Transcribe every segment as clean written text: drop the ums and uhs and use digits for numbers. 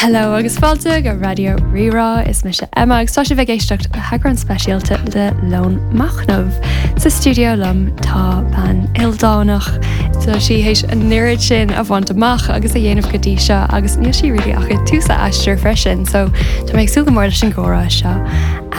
Hello agus fáilte go Raidió Rí-Rá, is mise Emma agus tá sibh ag éisteacht le heagrán speisialta de Lón Machnaimh. Sa stiúideo liom tá bean ildánach, tá sí théis an oiread sin a bhaint amach agus a dhéanamh go dtí seo agus níl sí really ach ag tús a aistir freisin, so tá mé ag súil go mór leis an gcomhrá seo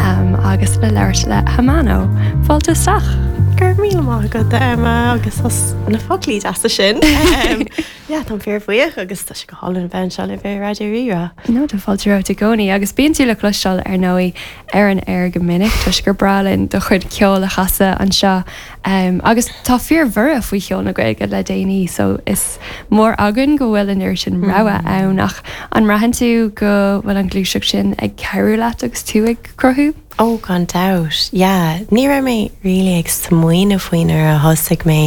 um, agus le labhairt le Hamano. Fáilte isteach! Go raibh míle maith agat Emma agus as na foclaí deasa sin. Um, Yeah, táim fíorbhuíoch agus tá sé go hálainn a bheith anseo libh ar Raidió Rí-Rá. No, tá fáilte romhat i gcónaí agus bíonn tú le cloisteáil ar ndóigh ar an aer go minic toisc gur breá linn do chuid ceoil a chasadh anseo um, agus tá fíorbhorradh faoi cheol na Gaeilge le déanaí so is mór againn go bhfuil an oiread sin rogha ann ach an mbraitheann tú go bhfuil an ghluaiseacht sin ag cabhrú leat agus tú ag cruthú? Oh gan dabht, yeah. Ní raibh mé really ag smaoineamh faoi nuair a thosaigh mé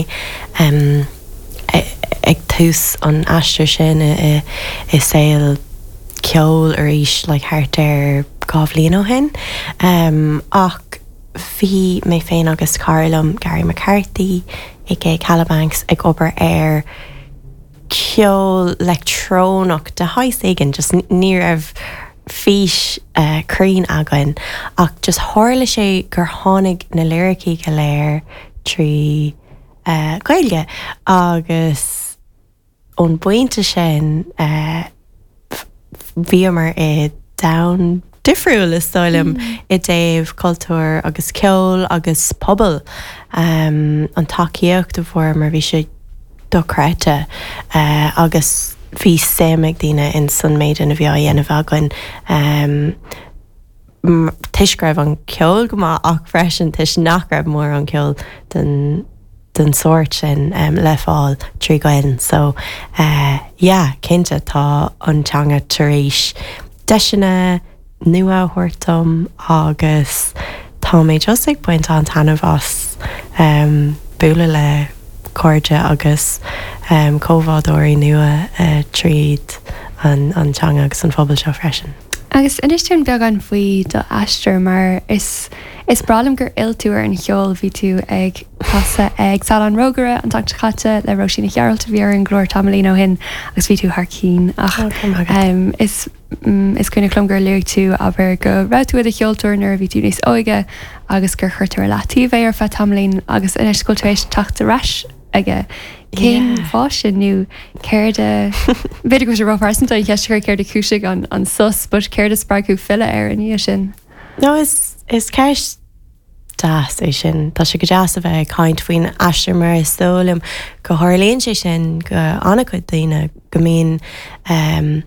em ag tús an aistir sin i i saol ceoil arís like thart ar 2 bhliain ó shin. Em ach bhí mé féin agus cara liom, Gary McCarthy aka Kalabanx, ag obair ar ceol leictreonach de shaghas éigin, just ní raibh fís cruinn againn ach just tharla sé gur tháinig na liricí go léir trí Ghaeilge agus ón bpointe sin bhíomar i domhan difriúil is dóigh liom i dtaobh cultúr agus ceol agus pobal. An tacaíocht a fuaireamar bhí sé dochreidte agus bhí suim ag daoine ins an méid a bhí á dhéanamh againn toisc go raibh an ceol go maith ach freisin toisc nach raibh mórán ceol den den sórt sin le fáil trí Ghaelainn. So yeah, cinnte tá an teanga tar éis deiseanna nua a thabhairt dom agus tá mé just ag baint an-taitneamh as bualadh le cairde agus comhbhádóirí nua tríd an teanga agus an phobal seo freisin. Agus inis dúinn beagán faoi do aistear mar is is breá liom gur fhill tú ar an cheol, bhí tú ag casadh ag Saol an Rógaire an tseachtain seo caite le Róisín Ní Ghearailt a bhí ar an gclár tamaillín ó shin agus bhí tú thar cinn ach is Is cuimhneach liom gur luaigh tú, abair, go raibh tú i do cheoltóir nuair a bhí tú níos óige agus gur chuir tú ar leataobh é ar feadh tamaillín agus anois go bhfuil tú éis teacht ar ais aige. Cén fáth sin nó céard a, b'fhéidir go bhfuil sé róphearsanta an cheist a chur céard a chúisigh an an sos but céard a spreag thú filleadh air i ndiaidh sin? No is is ceist deas é sin. Tá sé go deas a bheith ag caint faoin aistear mar is dóigh liom go tharlaíonn sé sin go an-chuid daoine go mbíonn um,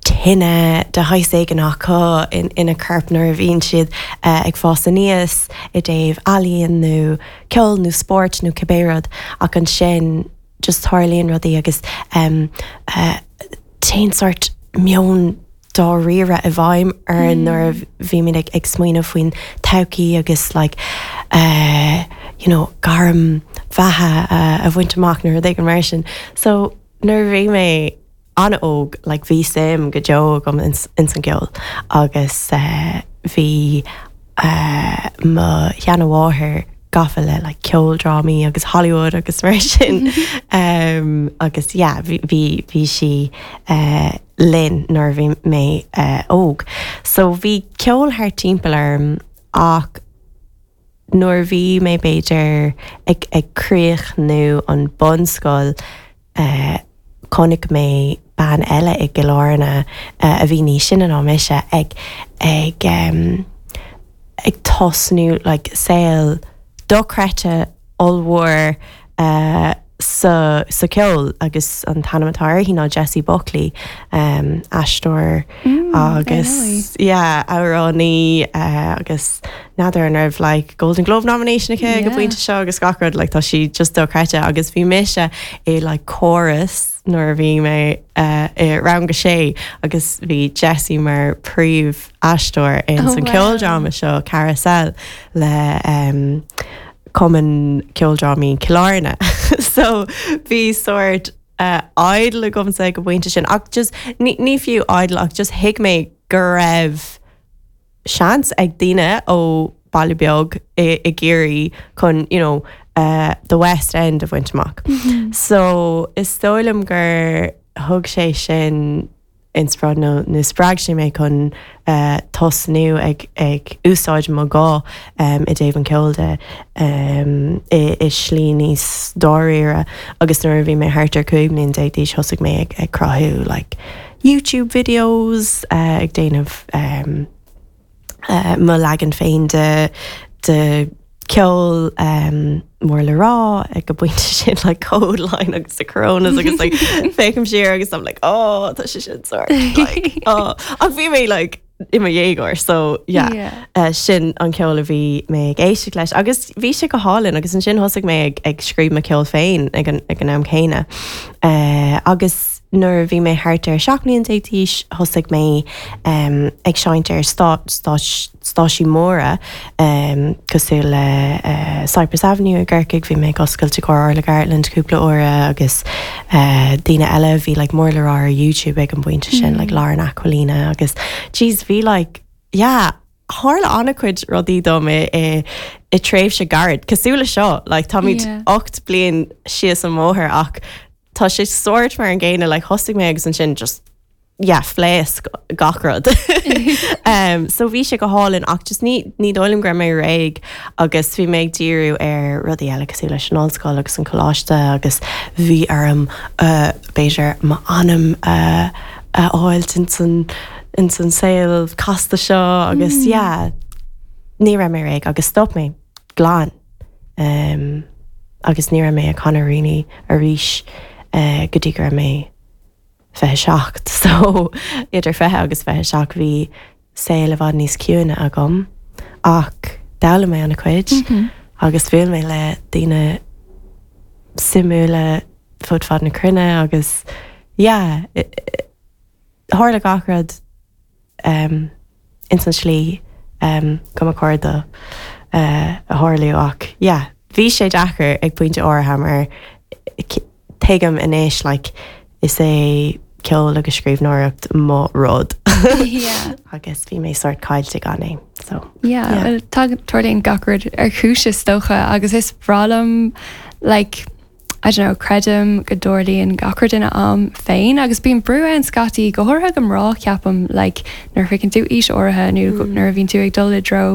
tine de shaghas éigin acu ina corp nuair a bhíonn siad ag fás aníos i dtaobh ealaíon nó ceol nó spóirt nó cibé rud ach ansin just tarlaíonn rudaí agus téann sórt meon dáiríre i bhfeidhm orainn nuair a bhímid ag ag smaoineamh faoin todhchaí agus like you know gairm bheatha a bhaint amach nó rud éigin mar sin. So nuair a bhí mé an-óg, like bhí suim go deo agam ins an gceol agus bhí mo sheana-mháthair gafa le like ceoldrámaí agus Hollywood agus mar sin agus yeah bhí bhí bhí sí linn nuair a bhí mé óg. So bhí ceol thart timpeall orm ach nuair a bhí mé b'fhéidir ag ag críochnú an bunscoil chonaic mé bean eile i gCill Airne a bhí níos sine ná mise ag ag ag tosnú like saol dochreidte ollmhór sa sa ceol agus an t-ainm atá uirthi ná Jessie Buckley, aisteoir agus yeah amhránaí agus n'fheadar an raibh like Golden Globe nomination aici ag an bpointe seo agus gach rud like tá sí just dochreidte agus bhí mise i like chorus nuair a bhí mé i rang a sé agus bhí Jessie mar príomh aisteoir in san ceoldráma seo Carousel le um, Cumann Ceoldrámaí Chill Airne. So bhí sórt uh, idol agamsa ag an bpointe sin ach just ní, ní fiú idol ach just thuig mé go raibh seans ag daoine ó baile beag i, i gCiarraí chun you know, uh, the West End a bhaint amach. Mm -hmm. So is dóigh liom gur thug sé sin. inspioráid nó nó spreag sé mé chun tosnú ag ag úsáid mo ghuth i dtaobh an ceoil de i i slí níos dáiríre agus nuair a bhí mé thart ar 15 mbliain d'aois thosaigh mé ag ag cruthú like YouTube videos ag déanamh mo leagan féin de de ceol mór le rá ag an bpointe sin like Kodaline agus the Coronas agus like féachaim siar agus I'm like oh tá sé sin sort like oh ach bhí mé like i mo dhéagóir so yeah, yeah. Uh, sin an ceol a bhí mé ag éisteacht leis agus bhí sé go hálainn agus ansin thosaigh mé ag, ag scríobh mo ceol féin ag an, ag an am céanna uh, agus Nuair a bhí mé thart ar 17 mbliain d'aois thosaigh mé ag seinnt ar stáitsí móra cosúil le Cyprus Avenue i gCorcaigh, bhí mé ag oscailt i gcomhair Orla Gartland cúpla uair agus daoine eile a bhí like mór le rá ar YouTube ag an bpointe sin, like Lauren Aquilina agus jeez bhí like yeah tharla an-chuid rudaí dom i i tréimhse gairid, cosúil le seo, like táimid 8 bliain síos an bóthar ach tá sé sórt mar an gcéanna, like thosaigh mé agus ansin just yeah phléasc gach rud. um, so bhí sé go hálainn ach just ní ní dóigh liom go raibh mé réidh agus bhí mé ag díriú ar rudaí eile cosúil leis an ollscoil agus an coláiste agus bhí orm uh, b'fhéidir m'anam uh, a fháilt ins an ins an saol casta seo agus yeah ní raibh mé réidh agus stop mé glan um, agus ní raibh mé ag canadh really arís uh, go dtí go raibh mé 27 so idir 20 agus 27 bhí saol i bhfad níos ciúine agam ach d'fhoghlaim mé an-chuid mm -hmm. agus bhuail mé le daoine suimiúla fud fad na cruinne agus yeah tharla gach rud um, ins an slí um, go mba chóir dó uh, a tharlú ach yeah, bhí sé deacair ag pointe áirithe mar tuigim anois like, is é ceol agus scríbhneoireacht mo rud yeah. agus bhí mé sort caillte gan é. So, yeah, yeah. Well, tá tarlaíonn gach rud ar chúis is dócha agus is breá liom like, I don't know, creidim go dtarlaíonn gach rud ina am féin agus bíonn brú ann scaití, go háirithe do mhná ceapaim, like nuair a shroicheann tú aois áirithe nó mm. nuair a bhíonn tú ag dul i dtreo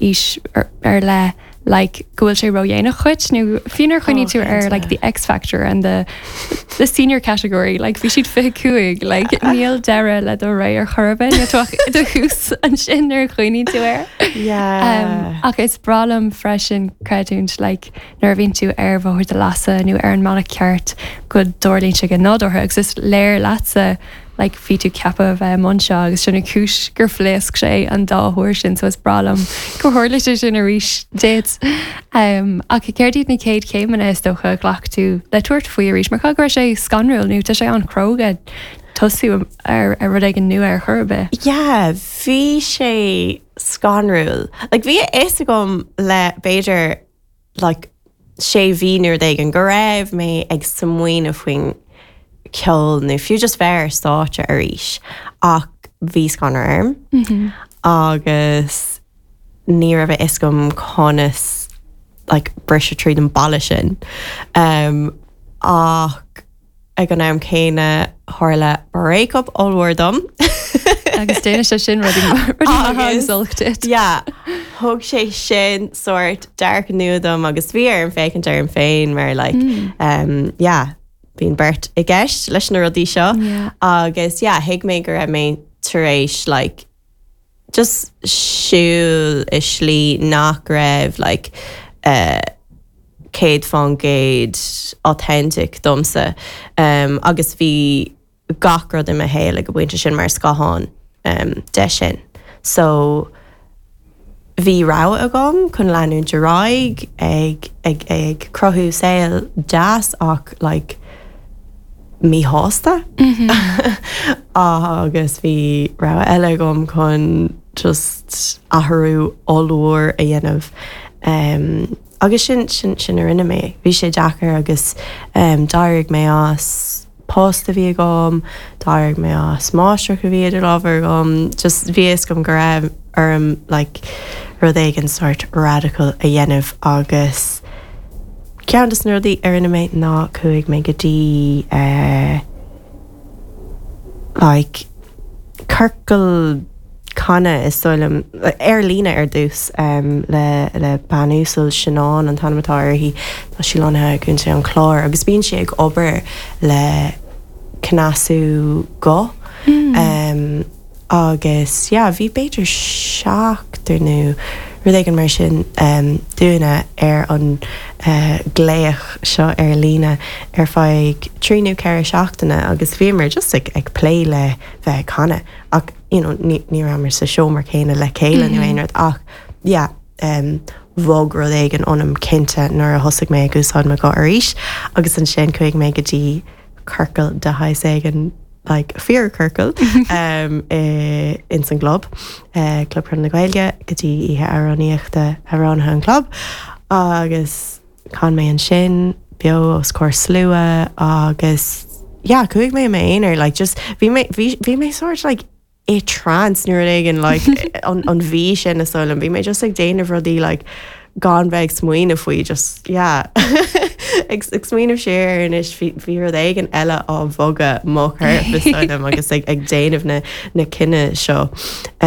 aois ar, ar leith like go bhfuil sé ródhéanach dhuit nó fiú nuair a chuimhníonn tú ar like the X Factor and the the senior category like bhí siad 25 like níl deireadh le do ré ar chor ar bith níl tú ach i do thús ansin nuair a chuimhníonn tú air. Yeah. Um, ach is breá liom freisin creidiúint like nuair a bhíonn tú ar bhóthar do leasa nó ar an mbealach ceart go dtarlaíonn sé go nádúrtha agus is léir leatsa like bhí tú ceaptha a bheith i mbun seo agus sin an chúis gur phléasc sé an dá huair sin so is breá liom gur tharla sé sin arís duit. Um, ach céard iad na chéad chéimeanna is dócha a ghlac tú le tabhairt faoi arís mar caithfidh go raibh sé scanrúil nó tá sé an-chróga tosú ar, ar rud éigin nua ar chor ar bith. Yeah, bhí sé scanrúil. Like bhí a fhios agam le b'fhéidir like sé mhí nó rud éigin go raibh mé ag smaoineamh faoin ceol nó fiú just bheith ar stáitse arís ach bhí scanradh orm mm -hmm. agus ní raibh a fhios agam conas like briseadh tríd an balla sin um, ach Ag an am céanna, tharla breakup ollmhór dom. Agus déanann sé sin rudaí maithe agus olc duit. Yeah, thug sé sin sórt dearcadh nua dom agus bhí orm féachaint orm féin mar like, um, yeah, bíonn beirt i gceist leis na rudaí seo. Yeah. Agus yeah, thuig mé go raibh mé tar éis like, just siúl i slí nach raibh like eh 100% authentic domsa um agus bhí gach rud i mo shaol ag an bpointe sin mar scáthán um de sin. So bhí rogha agam chun leanúint ar aghaidh ag ag ag cruthú saol deas ach like míshásta agus bhí rogha eile agam chun just athrú ollmhór a dhéanamh agus sin sin sin a rinne mé. Bhí sé deacair agus d'éirigh mé as post a bhí agam, d'éirigh mé as máistreacht a bhí idir lámha agam, just bhí a fhios agam go raibh orm like rud éigin sort radical a dhéanamh agus Ceann de na rudaí a rinne mé ná chuaigh mé go dtí eh like. Ciorcal canadh is dóigh liom, ar líne ar dtús le le bean uasal, Sianán an t-ainm atá uirthi, tá sí lonnaithe i gContae an Chláir agus bíonn sí ag obair le cneasú guth agus yeah bhí b'fhéidir seachtar nó rud éigin mar sin dúinne ar an glaoch seo ar líne ar feadh trí nó ceithre seachtaine agus bhíomar just ag ag plé le bheith ag canadh ach you know ní ní rabhamar sa seomra céanna le chéile nó aon rud ach yeah um bhog rud éigin ionam cinnte nuair a thosaigh mé ag úsáid mo ghuth arís agus ansin chuaigh mé go dtí ciorcal de shaghas éigin like fíorchiorcal um i ins an gclub eh Club Chonradh na Gaeilge go dtí oíche amhránaíochta amhránaithe an chlub agus Chan mé ansin, beo os comhair slua agus yeah chuaigh mé i m'aonar like just bhí mé bhí bhí mé sort like i trance nó rud éigin like an an mhí sin is dóigh liom bhí mé just ag déanamh rudaí like gan bheith ag smaoineamh faoi just yeah ag ag smaoineamh siar air anois bhí bhí rud éigin eile á bhogadh mo chorp is dóigh liom agus ag ag déanamh na na cinneadh seo.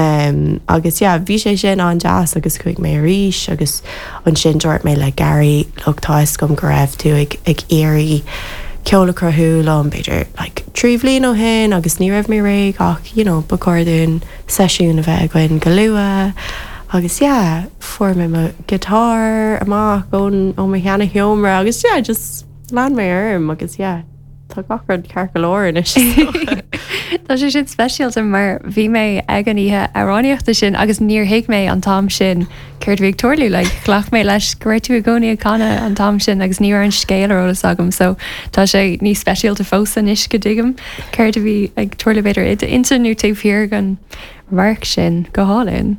Um agus yeah bhí sé sin an-deas agus chuaigh mé arís agus Ansin dúirt mé le Gary, look tá fhios agam go raibh tú ag ag iarraidh ceol a chruthú liom b'fhéidir like 3 bhliain ó shin agus ní raibh mé réidh ach you know ba chóir dúinn seisiún a bheith againn go luath agus yeah fuair mé mo guitar amach ón ó mo sheana sheomra agus yeah just lean mé orm agus yeah Tá gach rud ceart go leor anois is dócha. Tá sé sin speisialta mar bhí mé ag an oíche amhránaíochta sin agus níor thuig mé an t-am sin céard a bhí ag tarlú. Like, ghlac mé leis go raibh tú i gcónaí ag canadh an t-am sin agus ní raibh an scéal ar eolas agam so tá sé níos speisialta fós anois go dtuigim céard a bhí ag tarlú b'fhéidir i d'intinn nó taobh thiar den radharc sin. Go hálainn.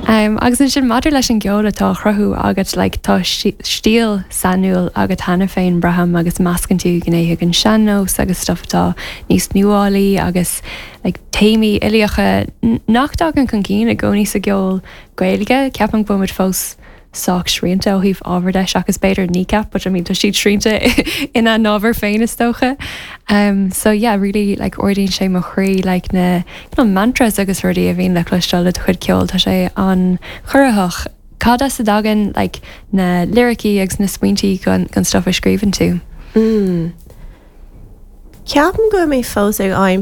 Agus ansin maidir leis an gceol atá á chruthú agat, like tá stíl sainiúil agat cheana féin, braithim, agus meascann tú gnéithe den sean-nós agus stuff atá níos nuálaí agus like téamaí uilíocha nach dtagann chun cinn i gcónaí sa gceol Gaeilge. Ceapaim go bhfuil muid fós sách srianta ó thaobh ábhar de, seachas b'fhéidir Kneecap, but I mean tá siad srianta ina n-ábhar féin is dócha. Um, so yeah, really like ardaíonn sé mo chroí like na you know, mantras agus rudaí a bhíonn le cloisteáil le do chuid ceoil, tá sé an-chorraitheach. Cad as a dtagann like na liricí agus na smaointí don, don stuff a scríobhann tú? Mm. Ceapaim go bhfuil mé fós ag aimsiú.